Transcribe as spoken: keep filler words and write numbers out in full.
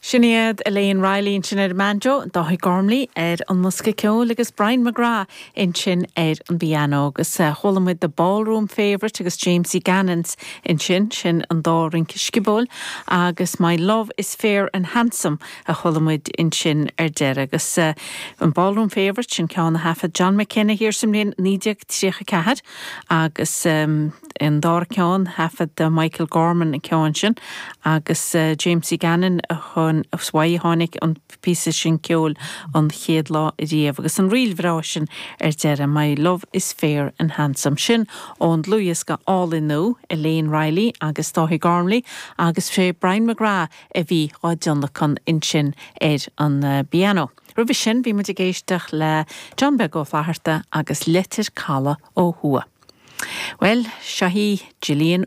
Sin iad Elaine Riley ansin ar banjo, Dáithí Gormley ar an mbosca ceoil agus Brian McGrath ansin ar an bpianó agus chuala muid the Ballroom Favourite agus Jamesie Gannon's ansin sin an dá rince sciobóil agus My Love is Fair and Handsome a chuala muid ansin ar deireadh agus uh, an Ballroom Favourite sin ceann a thaifead John McKenna thiar sa mbliain naoi déag tríocha ceathair agus um, an dara ceann thaifead Michael Gorman an ceann sin agus uh, Jamesie Gannon a chun uaidh tháinig an píosa sin ceoil an chéad lá riamh agus an ríl bhreá sin ar deireadh My Love is Fair and Handsome sin ón dlúthdhiosca álainn nua Elaine Riley agus Dáithí Gormley agus sé Brian McGrath a bhí á dtionlacan ansin ar an uh, bpianó. Roimhe sin bhí muid ag éisteacht le John Beag Ó Flatharta agus Leitir Caladh ó thuaidh. Well, seo í Gillian